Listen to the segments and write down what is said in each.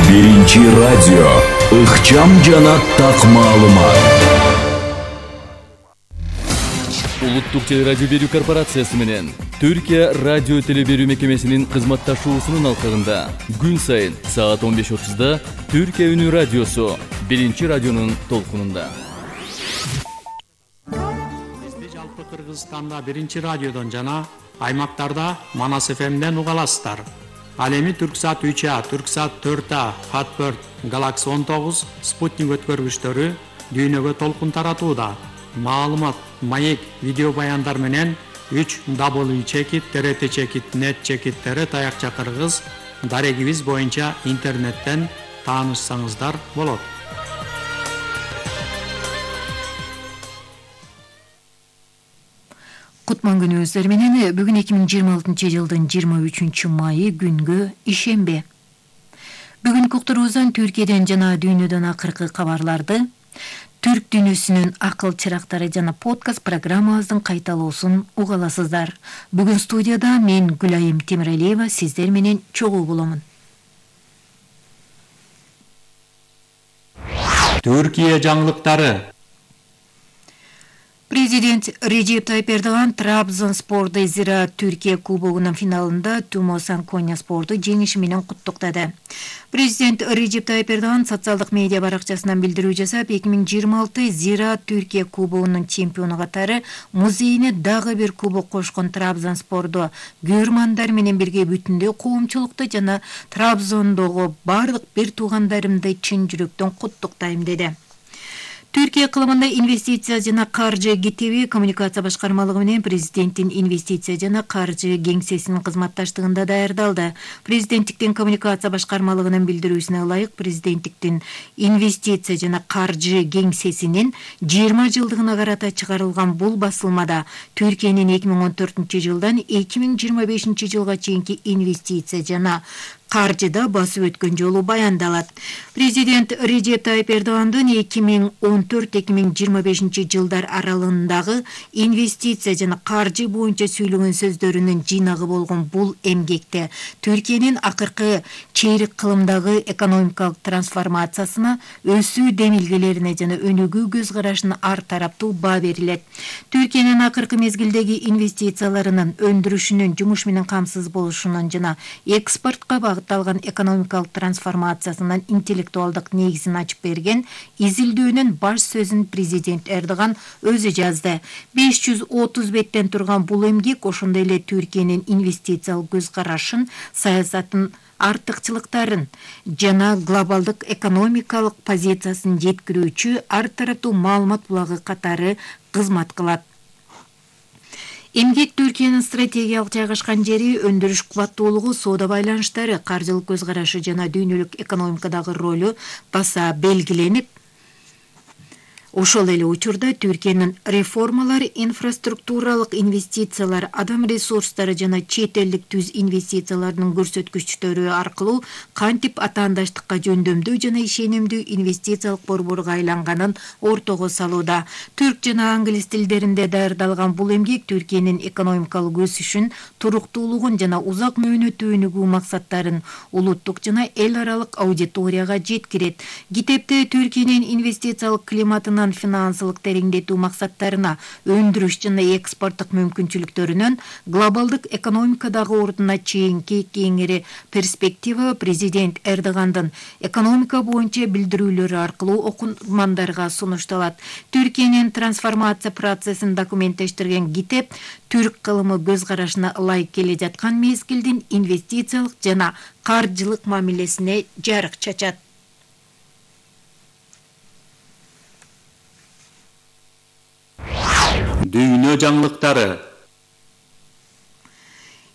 Биринчи радио. Ыкчам жана так маалымат. Улуттук телерадио берүү корпорациясы менен Түркия радио телеберүү мекемесинин кызматташуусунун алкагында күн сайын саат 15:30 Түркия үнү радиосу Биринчи радионун толкунунда. Бизди жалпы Кыргызстанда Биринчи радиодон жана аймактарда Манас ФМден уга аласыздар. Ал эми Түрксат 3А, Түрксат 4А, Fatbird, Galaxy 19, Sputnik өткөргүчтөрү дүйнөгө толкун таратууда. Маалымат, маек, видео баяндар менен 3W TRT-net таякча кыргыз дарегибиз боюнча интернеттен таанышсаңыздар болот. Кутман күнүңүздөр менен бүгүн 2026 жылдын 23 майы күнгө ишембе. Бүгүн уктуруубуздан Түркияден жана дүйнөдөн акыркы кабарларды, Түрк дүйнөсүнүн акыл чырактары жана подкаст программабыздын кайталоосун уга аласыздар. Бүгүн студияда мен Гүлайым Темиралиева сиздер менен чогуу боломун. Түркия жаңылыктары. Президент Режеп Тайып Эрдоган Трабзонспорду Зираат Түркия кубогунун финалында Тумосан Коньяспорду жеңиши менен куттуктады. Президент Режеп Тайып Эрдоган социалдык медиа баракчасынан билдирүү жасап, 2026 Зираат Түркия кубогунун чемпиону катары музейине дагы бир кубок кошкон Трабзонспорду көрмандар менен бирге бүтүндөй коомчулукту жана Трабзондогу бардык бир туугандарымды чын жүрөктөн куттуктайм деди. Түркия кылымында инвестиция жана каржы кетеби коммуникация башкармалыгы менен президенттин инвестиция жана каржы кеңсесинин кызматташтыгында даярдалды. Президенттиктин коммуникация башкармалыгынын билдирүүсүнө ылайык, президенттиктин инвестиция жана каржы кеңсесинин 20 жылдыгына карата чыгарылган бул басылмада Түркиянын 2014 жылдан 2025 жылга чейинки инвестиция жана каржыда басып өткөн жолу баяндалат. Президент Режеп Тайып Эрдогандын 2014-2025 жылдар аралыгындагы инвестиция жана каржы боюнча сүйлөгөн сөздөрүнүн жыйнагы болгон бул эмгекте Түркиянын акыркы чейрек кылымдагы экономикалык трансформациясына, өсүү демилгелерине жана өнүгүү көз карашына ар тараптуу баа берилет. Түркиянын акыркы мезгилдеги инвестицияларынын, өндүрүшүнүн, жумуш менен камсыз болушунун жана экспортко багытталган экономикалык трансформациясынын интеллектуалдык негизин ачып берген изилдөөнүн баш сөзүн президент Эрдоган өзү жазды. 530 беттен турган бул эмгек ошондой эле Түркиянын инвестициялык көз карашын, саясатын, артыкчылыктарын жана глобалдык экономикалык позициясын жеткирүүчү ар тараптуу маалымат булагы катары кызмат кылат. Эмгек Түркиянын стратегиялык жайгашкан жери, өндүрүш кубаттуулугу, соода байланыштары, каржылык көз карашы жана дүйнөлүк экономикадагы ролу баса белгиленип, ошол эле учурда Түркиянын реформалары, инфраструктуралык инвестициялар, адам ресурстары жана чет элдик түз инвестициялардын көрсөткүчтөрү аркылуу кантип атаандаштыкка жөндөмдүү жана ишенимдүү инвестициялык борборго айланганын ортого салууда. Түрк жана англис тилдеринде даярдалган бул эмгек Түркиянын экономикалык өсүшүн, туруктуулугун жана узак мөөнөттүү өнүгүү максаттарын улуттук жана эл аралык аудиторияга жеткирет. Китепте Түркиянын инвестициялык климатын финансылык тереңдетүү максаттарына, өндүрүш жана экспорттук мүмкүнчүлүктөрүнөн, глобалдык экономикадагы ордуна чейинки кеңири перспектива президент Эрдогандын экономика боюнча билдирүүлөрү аркылуу окурмандарга сунушталат. Түркиянын трансформация процессин документтештирген китеп түрк кылымы көз карашына ылайык келе жаткан мезгилдин инвестициялык жана каржылык мамилесине жарык чачат. Дүйнө жаңылыктары.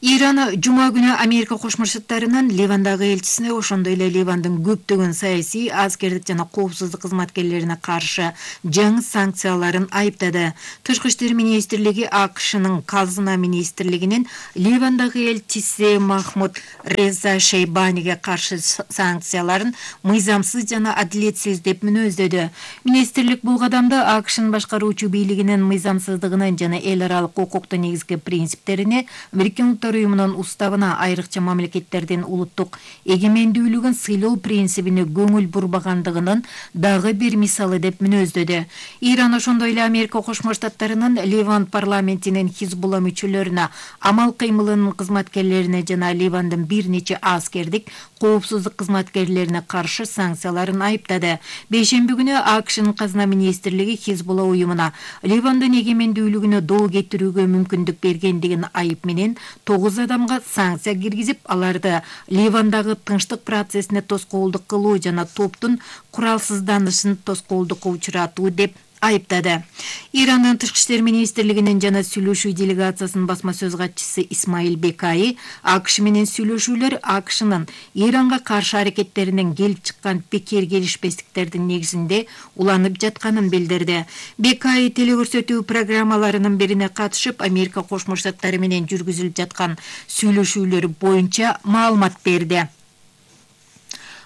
Иран жума күнү Америка Кошмо Штаттарынын Ливандагы элчисине, ошондой эле Ливандын көптөгөн саясий, аскердик жана коопсуздук кызматкерлерине каршы жаңы санкцияларын айыптады. Тышкы иштер министрлиги АКШнын казына министрлигинин Ливандагы элчиси Махмуд Реза Шейбаниге каршы санкцияларын мыйзамсыз жана адилетсиз деп мүнөздөдү. Министрлик бул кадамды АКШнын башкаруучу бийлигинин мыйзамсыздыгынын жана эл аралык укуктун негизги принциптерине, Бириккен Улуттар Улуттар уюмунун уставына, айрыкча мамлекеттердин улуттук эгемендүүлүгүн сыйлоо принцибине көңүл бурбагандыгынын дагы бир мисалы деп мүнөздөдү. Иран ошондой эле Америка Кошмо Штаттарынын Ливан парламентинин Хизбулла мүчөлөрүнө, амал кыймылынын кызматкерлерине жана Ливандын бир нече аскердик коопсуздук кызматкерлерине каршы санкцияларын айыптады. Бейшемби күнү АКШнын казына министрлиги Хизбулла уюмуна Ливандын эгемендүүлүгүнө доо кетирүүгө мүмкүндүк бергендигин айып менен 9 адамга санкция киргизип, аларды Ливандагы тынчтык процессине тоскоолдук кылуу жана топтун куралсызданышын тоскоолдукка учуратуу деп айыптады. Ирандын тышкы иштер министрлигинин жана сүйлөшүү делегациясынын басма сөз катчысы Исмаил Бекай АКШ менен сүйлөшүүлөр АКШнын Иранга каршы аракеттеринен келип чыккан пикир келишпестиктердин негизинде уланып жатканын билдирди. Бекай телекөрсөтүү программаларынын бирине катышып, Америка Кошмо Штаттары менен жүргүзүлүп жаткан сүйлөшүүлөр боюнча маалымат берди.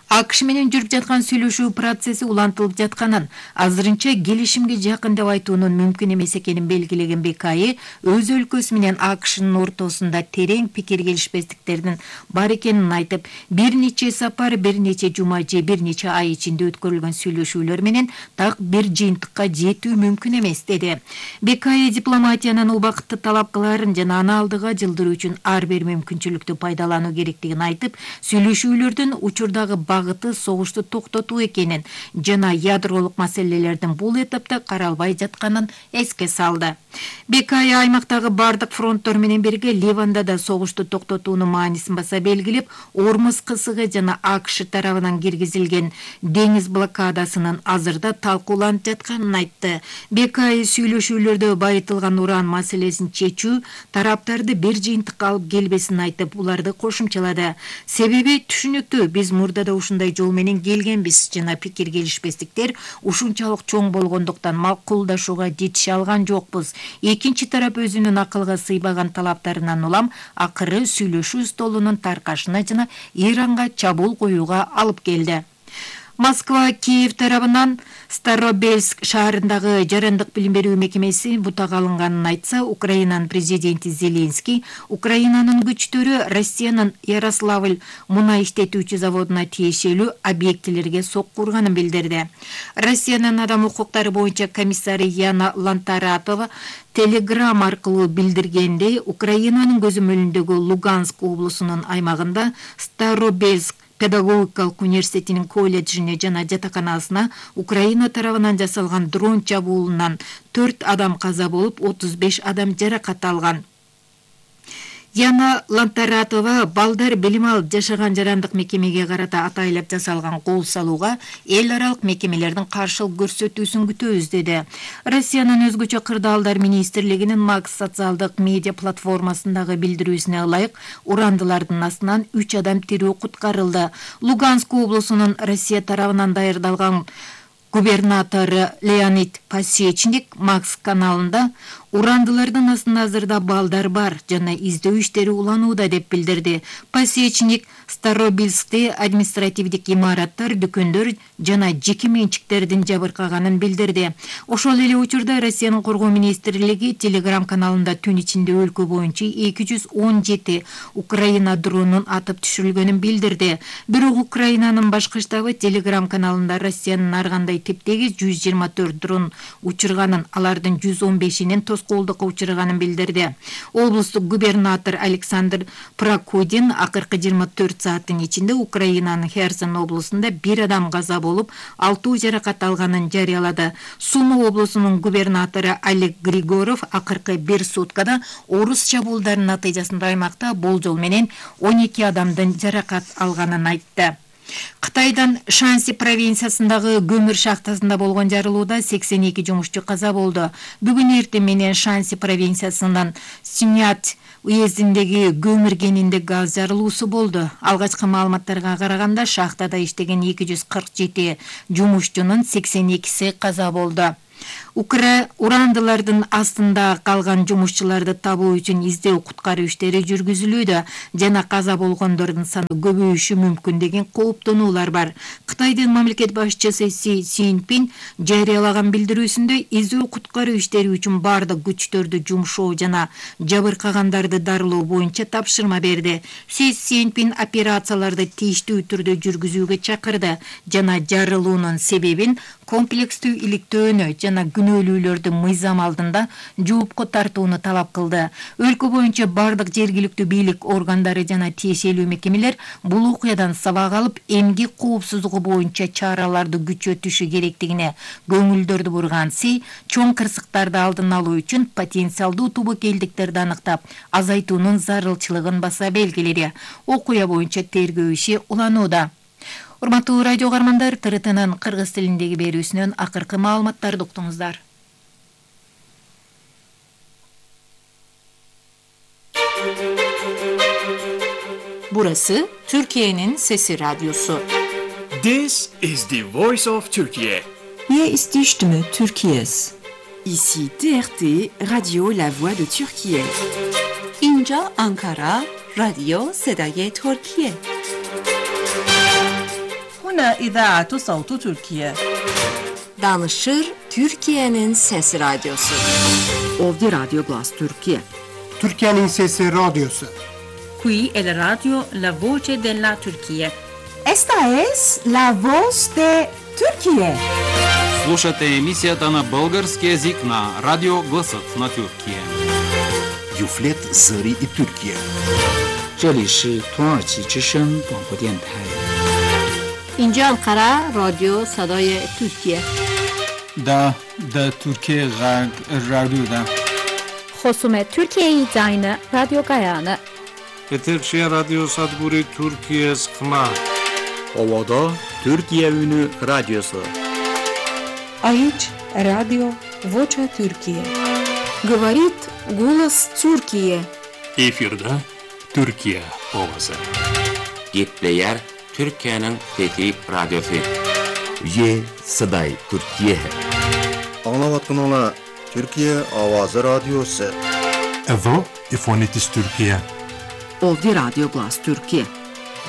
АКШ менен жүрүп жаткан сүйлөшүү процесси улантылып жатканын, азырынча келишимге жакын деп айтуунун мүмкүн эмес экенин белгилеген Бекай өз өлкөсү менен АКШнын ортосунда терең пикир келишпестиктердин бар экенин айтып, бир нече сапар, бир нече жума же бир нече ай ичинде өткөрүлгөн сүйлөшүүлөр менен так бир жыйынтыкка жетүү мүмкүн эмес деди. Бекай дипломатиянын убакытты талапкаларын жана аны алдыга жылдыруу үчүн ар бир мүмкүнчүлүктү пайдалануу керектигин айтып, сүйлөшүүлөрдүн учурдагы багыты согушту токтотуу экенин жана ядролук маселелердин бул этапта каралбай жатканын эске салды. Бекай аймактагы бардык фронттор менен бирге Ливанда да согушту токтотуунун маанисин баса белгилеп, Ормуз кысыгы жана АКШ тарабынан киргизилген деңиз блокадасынын азырда талкууланып жатканын айтты. Бекай сүйлөшүүлөрдө байытылган уран маселесин чечүү тараптарды бир жыйынтыкка алып келбесин айтып, буларды кошумчалады. Себеби түшүнүктүү, биз мурдада ушундай жол менен келгенбиз жана пикир келишпестиктер ушунчалык чоң болгондуктан макулдашууга жетише алган жокпуз. Экинчи тарап өзүнүн акылга сыйбаган талаптарынан улам акыры сүйлөшүү столунун таркашына жана Иранга чабуул коюуга алып келди. Москва Киев тарабынан Старобельск шаарындагы жарандык билим берүү мекемеси бутага алынганын айтса, Украинанын президенти Зеленский Украинанын күчтөрү Россиянын Ярославль мунай иштетүүчү заводуна тиешелүү объектилерге сокку урганын билдирди. Россиянын адам укуктары боюнча комиссары Яна Лантаратова телеграмма аркылуу билдиргендей, Украинанын көзөмөлүндөгү Луганск облусунун аймагында Старобельск педагогикалык университетинин колледжине жана жатаканасына Украина тарабынан жасалган дрон чабуулунан 4 адам каза болуп, 35 адам жаракат алган. Яна Лантаратова балдар билим алып жашаган жарандык мекемеге карата атайлап жасалган кол салууга эл аралык мекемелердин каршылык көрсөтүүсүн күтөбүз деди. Россиянын өзгөчө кырдаалдар министрлигинин Макс социалдык медиа платформасындагы билдирүүсүнө ылайык, урандылардын астынан 3 адам тирүү куткарылды. Луганск облусунун Россия тарабынан даярдалган губернатору Леонид Пасечник Макс каналында урандылардын астында азырда балдар бар жана издөө иштери уланууда деп билдирди. Пасечник Старобельскте административдик имараттар, дүкөндөр жана жеке менчиктердин жабыркаганын билдирди. Ошол эле учурда Россиянын коргоо министрлиги Телеграм каналында түн ичинде өлкө боюнча 217 Украина дронун атып түшүрүлгөнүн билдирди. Бирок Украинанын башкы штабы Телеграм каналында Россиянын ар кандай типтеги 124 дрон учурганын, алардын 115-инин тоскоолдукка учурганын билдирди. Облустук губернатор Александр Прокудин акыркы 24 сааттын ичинде Украинанын Херсон облусунда 1 адам каза болуп, 6 жаракат алганын жарыялады. Сума облусунун губернатору Олег Григоров акыркы 1 суткада орус чабуулдарынын натыйжасында аймакта болжол менен 12 адамдын жаракат алганын айтты. Кытайдын Шанси провинциясындагы көмүр шахтасында болгон жарылууда 82 жумушчу каза болду. Бүгүн эртең менен Шанси провинциясынын Синьят уездиндеги көмүр кенинде газ жарылуусу болду. Алгачкы маалыматтарга караганда шахтада иштеген 247 жумушчунун 82си каза болду. Урандылардын астында калган жумушчуларды табуу үчүн издөө куткаруу иштери жүргүзүлүүдө жана каза болгондордун саны көбөйүшү мүмкүн деген кооптонуулар бар. Кытайдын мамлекет башчысы Си Цзиньпин жарыялаган билдирүүсүндө издөө куткаруу иштери үчүн бардык күчтөрдү жумшоо жана жабыркагандарды дарылоо боюнча тапшырма берди. Си Цзиньпин операцияларды тийиштүү түрдө жүргүзүүгө чакырды жана жарылуунун себебин комплекстүү иликтөөнү жана күнөөлүүлөрдү мыйзам алдында жоопко тартууну талап кылды. Өлкө боюнча бардык жергиликтүү бийлик органдары жана тиешелүү мекемелер бул окуядан сабак алып, эмгек коопсуздугу боюнча чараларды күчөтүшү керектигине көңүлдөрдү бурган Си чоң кырсыктарды алдын алуу үчүн потенциалдуу тубакелдиктерди аныктап, азайтуунун зарылчылыгын баса белгиледи. Окуя боюнча тергөө иши уланууда. Урматтуу радио каармандар, ТРТнын кыргыз тилиндеги берүүсүнөн акыркы маалыматтарды уктуңуздар. Burası Türkiye'nin Sesi Radyosu. This is the voice of Turkey. Hier ist die Stimme Türkiye's. Ici TRT, Radio La Voix de Türkiye. Inca Ankara, Radio Sedaye Türkiye. هنا إذاعة صوت تركيا. Danışır Türkiye'nin Sesi Radyosu. Ovdi Radyo Glas Türkiye. Türkiye'nin Sesi Radyosu. Qui è la radio La Voce della Turchia. Esta es la voz de Türkiye. Слушате емисията на български език на Радио Гласът на Тюркия. Юфлет Зари и Türkiye. 这里是土耳其之声广播电台。 اینجا انقره رادیو صدای ترکیه. Da Türkiye Radyo'da. خصوم Türkiye Zayını Radyo Gayanı. Eterşehir Radyo Sadguri Türkiye Skma. Ovada Türkiye Ünü Radyosu. Aici Radio Vocea Türkiye. Говорит голос Türkiye. Efirde Türkiye Ovası. Gitleyer Türkiye'nin fethi radyosu. Ye Saday Türkiye. Anlavatın ola Türkiye Avazı Radyosu. Evo İfonitis Türkiye. Ovdi Radyo Glas Türkiye.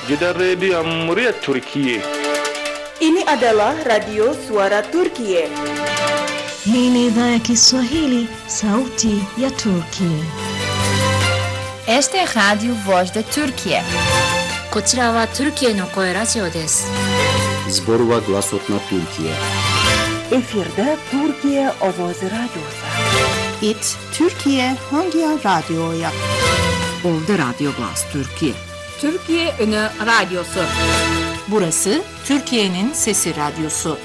Jeda Radio Amuriat Türkiye. Ini adalah Radio Suara Turkiye. Hii ni idhaa ya Kiswahili, sauti ya Turkiye. Este es Radio Voz de Turkiye. こちらはトルキエの声ラジオです。Zborova Glasot na Türkiye. Efirde Türkiye Ovoz Radyosu. It Türkiye hangi radyoya? Ovdi Radyo Glas Türkiye. Türkiye Ünü Radyosu. Burası Türkiye'nin Sesi Radyosu.